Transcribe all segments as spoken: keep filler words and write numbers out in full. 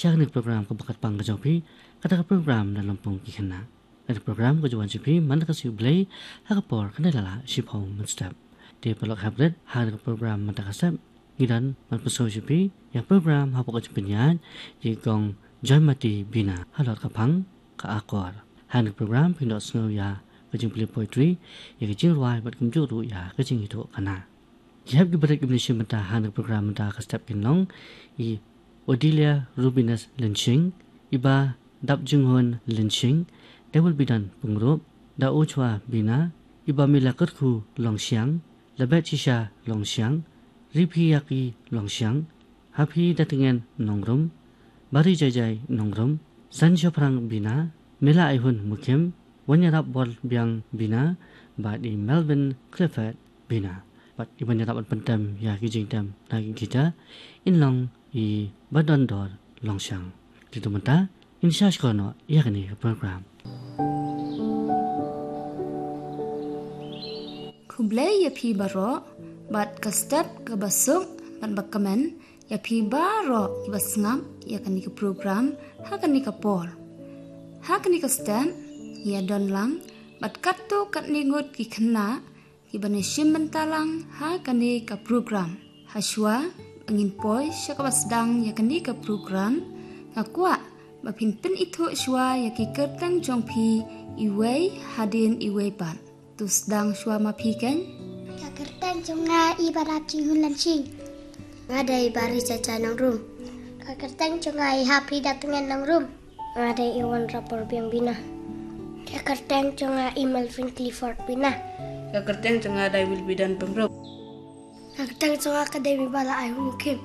Sha kane ka program kaba kyrpang ka jong phi, kata ka program Lympung ki Khynnah. Kane ka program ka ju wan sha phi man la ka sngi U Blei ha ka por khyndai la lah shiphew mynstep. Te paralok hep rit, ha kane ka program mynta ka step ngi don ban pynsngew sha phi ïa ka program hapoh ka jingpynïaid jong i Kong Joymati Bina halor ka phang ka Akor. Ha kane ka program phin ïohsngew ïa ka jingpule poetry, ïa ka jingrwai bad kumjuh ruh ïa ka jingïathuhkhana. Ki hep kiba rit kiban ïashim bynta ha kane ka program mynta ka step kin long i Odelia Rubinus Lynshing, i Bah Dapjinghun Lynshing, Da Wilbidan Pyngrope, Da Uchwa Bina, i Bah Mila Kyrkhu Longshiang, La Betshisha Longshiang, Riphiaki Longshiang, Haphidatngen Nongrum, Barijaijai Nongrum, Sanshaphrang Bina, Mila Aihun Mukhim, Wanïarap Borbiang Bina, bad i Melvin Clifford Bina. Bad iban ïarap ban pyntem ïa ki jingtem na ki guitar in long i Bah Dondor Longshiang. Te to mynta ngin sa sngap noh ïa kane ka program. Khublei ïa phi baroh bad ka step kaba suk bad ba kmen ïa phi baroh kiba sngap ïa kane ka program ha kane ka por. Ha kane ka step ïa don lang bad katto katne ngut ki khynnah kiban ïashim bynta lang ha kane ka program. Hashwa ba ngin poi sha kaba sdang ïa kane ka program, nga kwah ba phin pynithuh shwa ïa ki kyrteng jong phi iwei hadien iwei pat. To sdang shwa ma phi keiñ. Ka kyrteng jong nga i Bah Dapjinghun Lynshing. Nga dei i Barijaijai Nongrum. Ka kyrteng jong nga i Haphidatngen Nongrum. Nga dei i Wanïarap Borbiang Bina. Ka kyrteng jong nga i Melvin Clifford Bina. Ka kyrteng jong nga Da Wilbidan Pyngrope. Ka kyrteng jong nga ka dei i Mila Aihun Mukhim.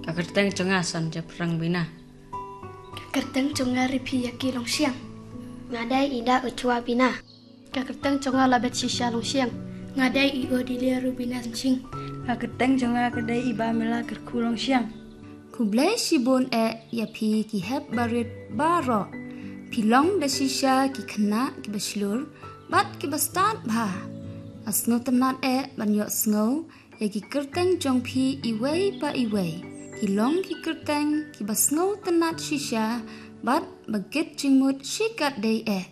Ka kyrteng jong nga Sanshaphrang Bina. Ka kyrteng jong nga Riphiaki Longshiang. Nga dei i Da Uchwa Bina. Ka kyrteng jong nga La Betshisha Longshiang. Nga dei i Odelia Rubinus Lynshing. Ka kyrteng jong nga ka dei i Bah Mila Kyrkhu Longshiang. Khublei shibun eh ïa phi ki hep barit baroh. Phi long da shisha ki khynnah kiba shlur bad kiba stad bha. Nga sngewtynnat eh ban ïohsngew ïa ki kyrteng jong phi iwei pa iwei. Ki long ki kyrteng kiba sngewtynnat shisha bad ba kit jingmut shikatdei eh.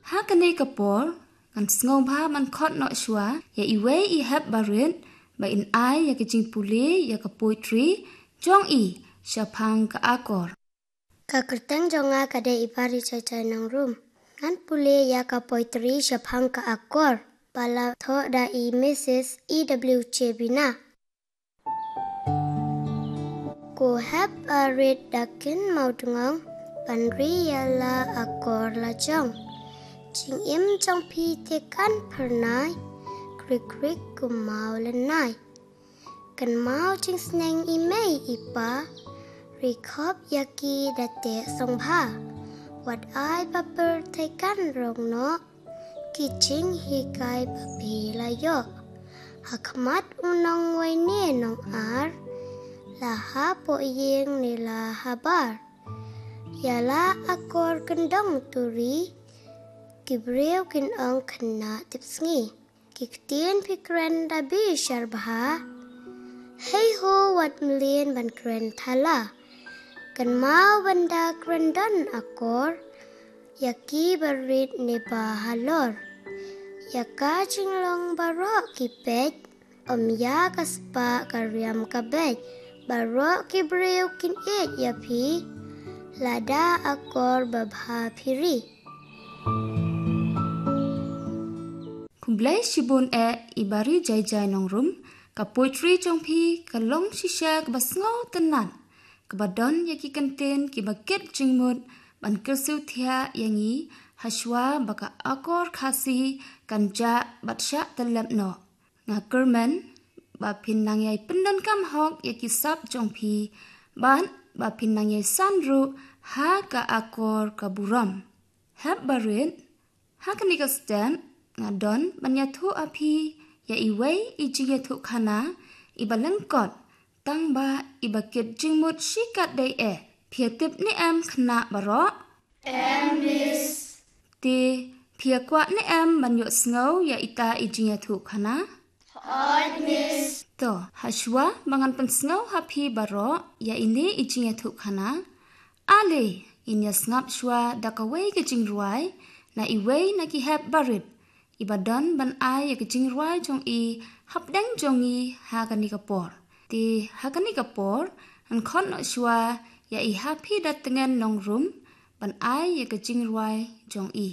Ha kane ka por ngan sngewbha ban khot noh shwa ïa iwei i hep barit ba in ai ïa ka jingpule ïa ka poetry jong i shaphang ka Akor. Ka kyrteng jong nga ka dei i Barijaijai Nongrum. Ngan pule ïa ka poetry shaphang ka Akor ba la thoh da i Missus E W J Bina. Ko hep barit da kynmaw dngong ban ri ïa la Akor lajong. Jingim jong phi te kan phyrnai, krik krik kummaw lynnai. Kynmaw jingsneng i mei i pa, ri khop ïa ki da teh sngewbha. Wat ai ba pyrthei kan rong noh, ki jinghikai ba phi la ïoh. Ha khmat u nongwei ne nongar, la hapoh ïing ne la habar. Ïa la Akor kyndong to ri, ki briew kin ong khynnah tipsngi. Ki ktien phi kren da bishar bha. Hei ho wat mlien ban kren thala. Kynmaw ban da kren don Akor. Ïa ki barit ne ba halor. Ïa ka jinglong baroh ki peit. Ym ïa ka spah ka riam ka beit. Baroh ki briew kin ïeit ïa phi. Lada Akor babha phi ri. Khublei shibun eh i Barijaijai Nongrum, ka poetry jong phi ka long shisha kaba sngewtynnat, kaba don ïa ki kyntien kiba kit jingmut ban kyrsiew thiah ïa ngi hashwa ba ka Akor Khasi kan jah bad shah tyllep noh. Nga kyrmen ba phin nang ïai pyndonkam hok ïa ki sap jong phi bad ba phin nang ïai san ruh ha ka Akor ka burom. Hep barit, ha kane ka step nga don ban ïathuh ha phi ïa iwei i jingïathuhkhana iba lyngkot, tang ba iba kit jingmut shikatdei eh. Phi ïa tip ne em khynnah baroh? Em, Miss. Te phi ïa kwah ne em ban ïohsngew ïa ita i jingïathuhkhana? Hooid, Miss. To, ha shuwa ba ngan pynsngew ha phi baroh ïa ine i jingïathuhkhana, ale ngin ïa sngap shuwa da kawei ka jingrwai na iwei na ki hep barit, iba don ban ai ïa ka jingrwai jong i hapdeng jong i ha kane ka por. Te ha kane ka por, ngan khot noh shuwa ïa i Hapidetngen Nongrum ban ai ïa ka jingrwai jong i.